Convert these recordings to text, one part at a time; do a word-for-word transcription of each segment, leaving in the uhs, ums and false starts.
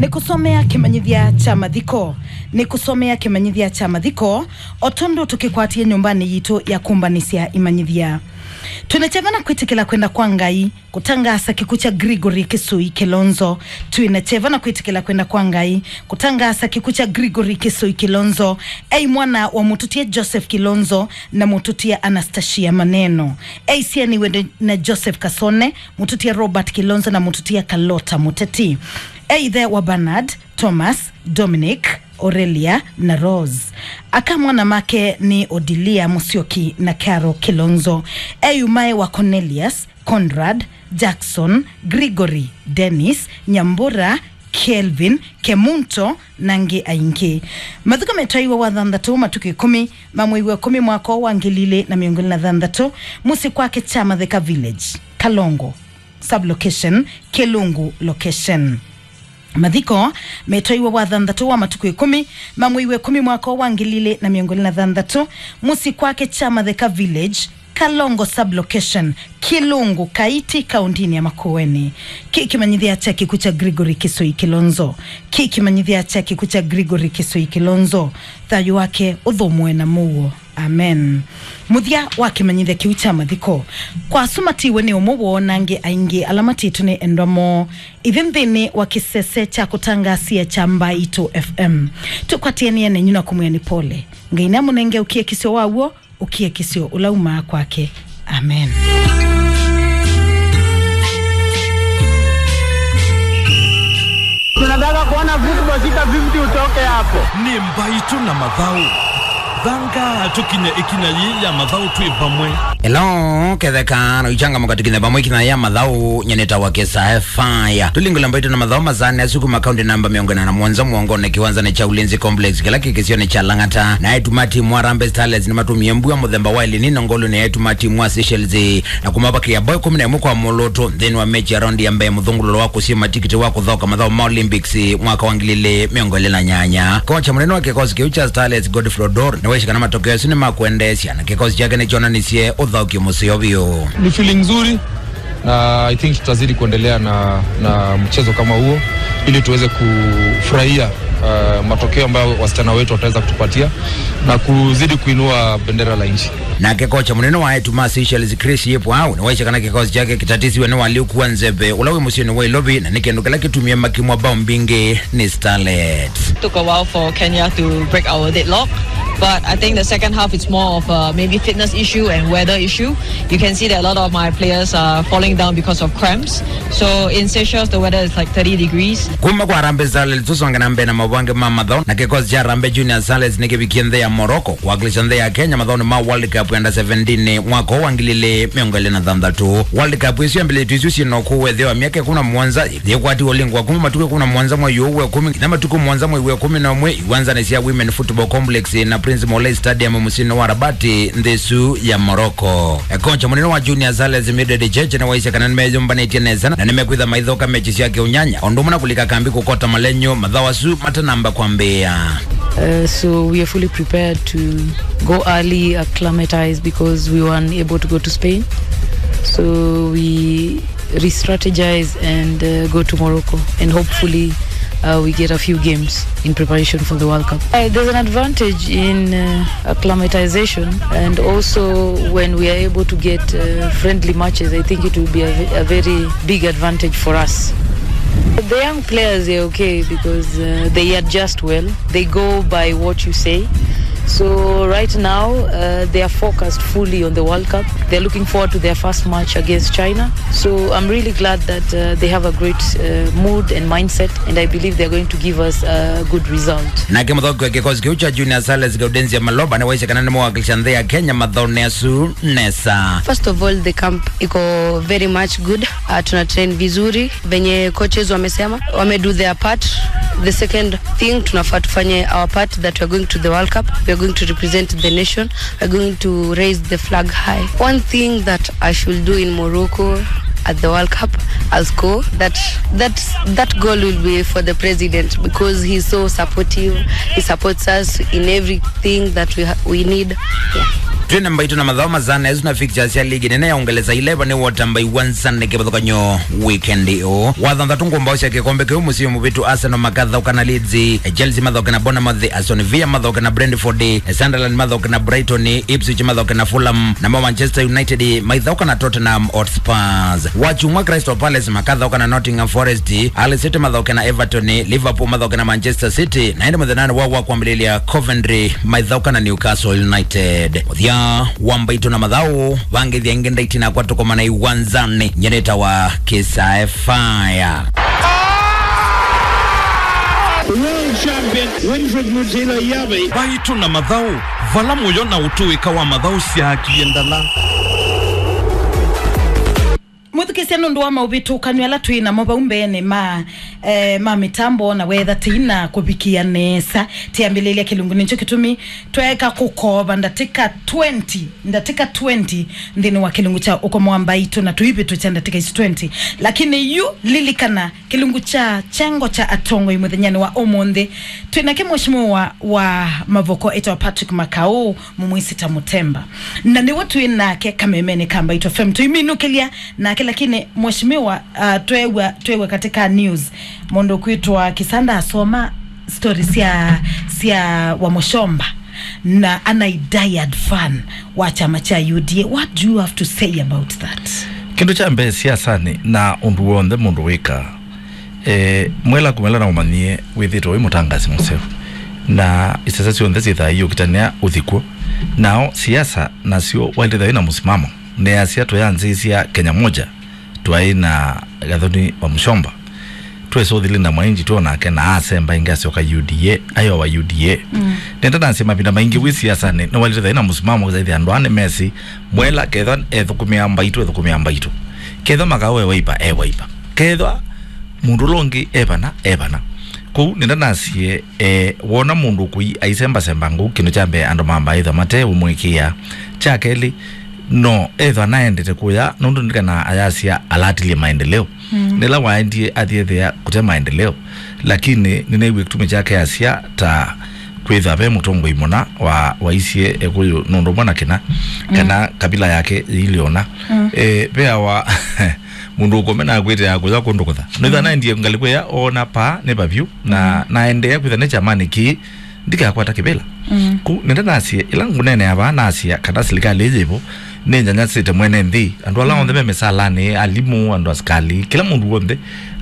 Nĩkũsomea kĩmanyĩthya kya mathiko. Nĩkũsomea kĩmanyĩthya kya mathiko, o tondũ tũkĩkwatie nyũmbanĩ yitũ ya kũmbanĩsya imanyĩthya. Twĩna kyeva na kwĩtĩkĩla kwenda kwa Ngai kũtangaasa kĩkw'ũ kya Gregory Kĩsũi Kĩlonzo. Twĩna kyeva na kwĩtĩkĩla kwenda kwa Ngai kũtangaasa kĩkw'ũ kya Gregory Kĩsũi Kĩlonzo. Ei mwana wa mũtũtie Joseph Kĩlonzo na mũtũtia Anastasia Maneno. Ei syaniwe na Joseph Kasone, mũtũtia Robert Kĩlonzo na mũtũtia Kalota Mũteti. E ĩthe wa Bernard, Thomas, Dominic, Aurelia na Rose. Aka mwana make nĩ Odilia Mũsyoki na Carol Kĩlonzo. E yumae wa Cornelius, Conrad, Jackson, Gregory, Dennis, Nyambura, Kelvin, Kemunto na angĩ aingĩ. Mathiko metwaiwe wa thanthatũ matukũ ĩkũmi ma mwei wa ĩkũmi mwaka wa ngili ilĩ na mĩongo ĩlĩ na thanthatũ, mũsyĩ kwake Kyamatheka Village, Kalongo Sublocation, Kĩlungu Location. Mathiko metwaiwe wa thanthatũ wa matukũ ĩkũmi ma mwei wa ĩkũmi mwaka wa ngili ilĩ na mĩongo ĩlĩ na thanthatũ, mũsyĩ kwake Kyamatheka Village, Kalongo Sublocation, Kĩlungu Kaiti, kaũntĩnĩ ya Makueni. Kĩ kĩmanyĩthya kya kĩkw'ũ kya Gregory Kĩsũi Kĩlonzo. Kĩ kĩmanyĩthya kya kĩkw'ũ kya Gregory Kĩsũi Kĩlonzo. Thayũ wake ũthũmũe na mũuo. Amen. Mũthya wa kĩmanyĩthya kĩu kya mathiko. Kwa asu matiwe nĩ ũmwe woo na angĩ aingĩ ala matitwe nĩ endwa moo. Ithyĩ nthĩnĩ wa kĩsese kya kũtangasia kya Mbaitũ F M, tũkwatĩanĩe nenyu na kũmwĩa nĩ pole. Ngai nĩamũnenge ũkiakisyo wa w'o, ũkiakisyo ũla umaa kwake. Amen. Tunataka kuona football, shika fifty utoke hapo. Nĩ Mbaitũ na Mathaũ. Thanga tũkinye ĩkinya yĩĩ ya Mathaũ twĩ vamwe. Hello, ketheka na ichangamuka tũkinye vamwe ĩkinya ya Mathaũ, nyeneta wa Kesa Faya. Tũlingũle Mbaitũ na Mathaũ masaanĩ asu kuma kaunti namba mĩongo ĩna na mũonza mũongonĩ kĩwanzanĩ kya Ulinzi Complex kĩla kĩ kĩsionĩ kya Lang'ata. Na eĩtu ma timu wa Harambee Starlets nĩmatũmie mbua mũthemba wa El Nino ngolunĩ ya eĩtu ma timu wa Seychelles na kũmavakĩa mbao ĩkũmi na ĩmwe kwa mũlũtũ nthĩnĩ wa mechi ya raundi ya mbee mũthũngũlũlo wa kũsima tikiti wa kũthaũka mathaũ ma Olympics mwaka wa ngili ilĩ mĩongo ĩlĩ na nyanya. Kocha mũnene wa kĩkosi kĩu kya Starlets, Godfrey Odor, nĩwaisye kana matokeo asu nĩ ma kwendeesya na kĩkosi kyake nĩkyonanisye ũthaũkyo mũseo vyũ. Ni feeling nzuri. Na I think tutazidi kuendelea na, na mchezo kama huo ili tuweze kufurahia, uh, matokeo ambayo wasichana wetu wataweza kutupatia na kuzidi kuinua bendera la nchi. Nake kocha mũnene wa eĩtu ma Seychelles, Chris Yip Wau, nĩwaisye kana kĩkosi kyake kĩtatĩsiwe nĩ ũalyũku wa nzeve ũla wĩ mũsyĩnĩ wa Nairobi, na nĩ kĩndũ kĩla kĩtumie makimwa mbao mbingĩ nĩ Starlets. Took a while for Kenya to break our deadlock, but I think the second half it's more of a maybe fitness issue and weather issue. You can see that a lot of my players are falling down because of cramps. So in Seychelles, the weather is like thirty degrees. Kuma kwa Harambee Starlets, tũsonge na mbee na maũvoo angĩ ma mathaũ, na kĩkosi kya Harambee Junior Starlets nĩkĩvikie nthĩ ya Morocco kwakilisha nthĩ ya Kenya mathaũnĩ ma World Cup ya under seventeen mwaka ũũ wa ngili ilĩ mĩongo ĩlĩ na thanthatũ. World Cup ĩsu yambĩlĩtw'e isu syĩ na ũkũũ wa ĩtheo wa myaka ĩkũmi na mũonza, yĩkwatiwe ũlingwa kuma matukũ ĩkũmi na mũonza mwei ũũ wa ĩkũmi nginya matukũ mũonza mwei wa ĩkũmi na ũmwe, iwanzanĩ sya Women Football Complex na Prince Moulay Stadium mũsyĩnĩ wa Rabat, nthĩ ĩsu ya Morocco. Kocha mũnene wa Junior Starlets, Mildred Cheche, nĩwaisye kana nĩmeyũmbanĩtye nesa na nĩmekwĩtha maithoka mechi sya kĩũnyanya, o ũndũ ũmwe na kũlika kambi kũkota malenyũ mathaũ asu matanamba kwambĩĩa. Uh, so we are fully prepared to go early, acclimatize, because we were unable to go to Spain. So we re-strategize and, uh, go to Morocco, and hopefully, uh, we get a few games in preparation for the World Cup. Uh, there's an advantage in, uh, acclimatization, and also when we are able to get, uh, friendly matches, I think it will be a, ve- a very big advantage for us. The young players are okay because, uh, they adjust well. They go by what you say. So right now, uh, they are focused fully on the World Cup. They're looking forward to their first match against China. So I'm really glad that, uh, they have a great, uh, mood and mindset, and I believe they're going to give us a good result. Nake mũthaũki wa kĩkosi kĩu kya Junior Starlets, Gaudenzia Maloba, nĩwaisye kana nĩmawakilisha nthĩ ya Kenya mathaũnĩ asu nesa. First of all, the camp iko very much good. Uh, tuna train vizuri. Venye coaches wamesema, wame do their part. The second thing, tunafaa tufanye our part that we are going to the World Cup. We are going to represent the nation. We are going to raise the flag high. One thing that I should do in Morocco at the World Cup, I'll score. That, that, that goal will be for the president because he's so supportive. He supports us in everything that we ha- we need. Yeah. Twĩ na mbaitũ na mathaũ masana, ĩsu na fixtures sya ligi nene ya Ũngelesa ileva nĩ wota mbai wanzane kĩvathũkany'o weekend ĩũ. Wathanthatũ ngũmbaũ sya kĩkombe kĩu mũsyĩ mũvĩtu Arsenal makathaũka na Leeds, Chelsea mathaũke na Bournemouth, Aston Villa mathaũke na Brentford, Sunderland mathaũke na Brighton, Ipswich mathaũke na Fulham, namo Manchester United maithaũka na Tottenham Hotspurs. Wakyumwa Crystal Palace makathaũka na Nottingham Forest, Hull City mathaũke na Everton, Liverpool mathaũke na Manchester City, na ĩndĩ mũthenyanĩ wa wa kwambĩlĩlya Coventry maithaũka na Newcastle United. Mũthya wa mbaitũ na mathaũ, vangĩthya ĩngĩ ndaiti nakwa tũkomana iwanzanĩ, nyeneta wa Kisae Fire. World champion Winfred Mutila Yabe. Mbaitũ na mathaũ, vala mũyo na ũtũĩka wa mathaũ syaakie ndala. Mwĩthukĩĩsya nũndũ wa maũvĩtũkanw'o ala twĩ namo vau mbeenĩ ma, eh, ma mĩtambo na weetha tĩina kũvikĩa nesa. Tĩambĩlĩlya kĩlungu nĩkyo kĩtumi tweeka kũkoova ndatĩka twenty, ndatĩka twenty nthĩnĩ wa kĩlungu kya ũkomo wa mbaitũ na tũivĩtũkya ndatĩka isu twenty. Lakini yu lilikana kĩlungu kya kyengo kya atongoi mũthenyanĩ wa ũmũnthĩ. Twĩ nake mheshimiwa wa, wa Mavoko etawa Patrick Makau, mũmwĩsĩ ta Mũtemba. Na nĩwe twĩ nake kamemenĩ ka Mbaitũ F M. Tũiminũkĩlya nake, lakini mheshimiwa, uh, twew'a, twew'a katika news, mũndũ kwĩtwa Kisanda asoma story sya, sya Wamuchomba na ana diehard fan wa kyama kya U D A. What do you have to say about that? Kĩndũ kya mbee siasanĩ na ũndũ w'onthe mũndũ wĩkaa, eh, mwela kumela na ũmanyie wĩthĩtwe wĩ mũtangasi mũseo, na isese syonthe syĩthaa iũkitanĩa ũthi kw'o. Nao siasa nasyo wailĩtha wĩ na mũsimamo, neasya tũyanzĩĩsya Kenya Moja twaĩ na Gathoni Wamuchomba, twesa ũthi Linda Mwainji twonake na asemba ĩngĩ asyoka U D A, ayowa U D A. Mm. Nenda nasye mavinda maingĩ wĩ siasanĩ nĩwailĩtha wĩ na mũsimamo, ũkĩthaithya andũ aa nĩmesĩ mwela kethwa ethũkũmĩa mbaitũ, ethũkũmĩa mbaitũ. Kethwa Makau e Wiper, e Wiper. Kethwa mũndũ ũla ũngĩ e vana, e vana. Kwoou nenda nasye, eh, wona mũndũ ũkũi aisembasemba ngũu, kĩndũ kya mbee andũ mambaa ĩthwa mate ũmũĩkĩĩa. Kya kelĩ, no ethwa naendete kũya, nũndũ ndikana ayasya alatilie maendeleo. Mm. Nĩla waendie athiethea kũte maendeleo. Lakini nĩneew'e kĩtumi kyake asya ta kwĩthwa ve mũtongoi mũna wa, waisye Ekũyũ nũndũ ũmwe na kĩna, mm, kana kabila yake yĩilĩ ũna. Mm. Eh, veawa mũndũ ũkũme na akwĩte ya kũya kũndũ kũtha. Nĩtha, mm, naendie ngalĩko ya ona paa nĩ vavyũ, na, mm, naendeea kwĩtha nĩ kyamanĩ kĩĩ ndikakwata kĩvĩla. Mm. Ku nenda nasye, ĩla ngũneenea vaa nasya kana silikalĩ ĩyĩ yĩvo, nĩnyanyasĩte mwene nthĩ. Andũ ala, mm, onthe me mĩsalanĩ, alimũ, andũ asikalĩ, kĩla mũndũ w'onthe,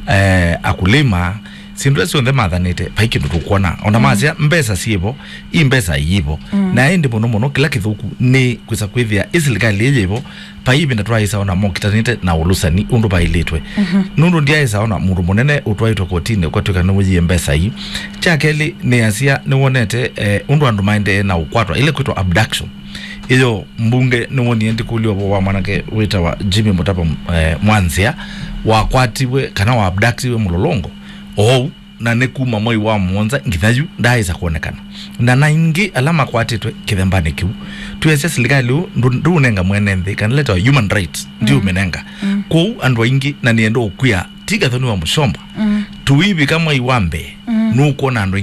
eh, akulima, syĩndũ ila syonthe mathanĩte, vai kĩndũ tũkwona. Ona, mm, masya mbesa syĩvo, i mbesa iyĩvo. Mm. Na ĩndĩ mũno mũno, kĩla kĩthũku nĩ kwĩsa kwĩthĩa ĩ silikalĩ ĩyĩvo, vai ĩvinda twaĩsa ona mokitanĩte na ũlũsani ũndũ vaĩlĩtwe. Mhm. Nũndũ ndyaĩsa ona mũndũ mũnene ũtwaĩtwe kotinĩ ũkatw'ĩka nĩwĩyie mbesa ii. Kya kelĩ, nĩasya nĩwonete, eh, ũndũ andũ maendee na ũkwatwa, ĩla kwĩtwa abduction. Ĩyo mbunge nĩwonie ndĩkũlya ũvoo wa mwanake wĩtawa Jimmy Mũtava, eh, Mwanzĩa, wakwatiwe kana wa abductiwe Mũlolongo oou, na nĩ kuma mwei wa mũonza nginya yu ndaaĩsa kwonekana. Na na aingĩ ala makwatĩtwe kĩthembanĩ kĩu, twĩasya silikalĩ ũũ ndũ-, ndũũnenga mwene nthĩ kana leta human rights, mm, ndiũmĩnenga. Mm. Kwoou andũ aingĩ, na nĩenda ũkwĩa, ti Gathoni Wamuchomba. Mm. Tũivika mwei wa mbee, mm, nũkwona andũ aingĩ